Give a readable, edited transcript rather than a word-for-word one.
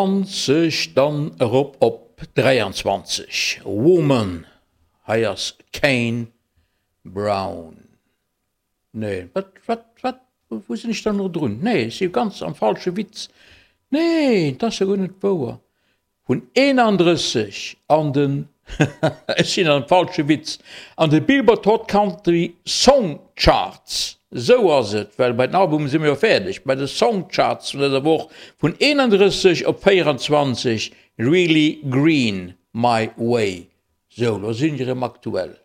20 dann erop op 23, Woman, hei ass Kane Brown. Nee, wat, wat, wat, wou sinn ech dann elo drun? Nee, ech si ganz am falsche Witz. Nee, dat ass jo guer net wouer. Vun 31 an den, ech sinn am falsche Witz, an de Billboard Hot Country Song Charts, esou ass et, well bei den Albumen si mer jo fäerdeg, bei de Song Charts vun dëser Woch vun 31 op 24, Really Green, My Way. Sou, lo sinn ech erëm aktuell.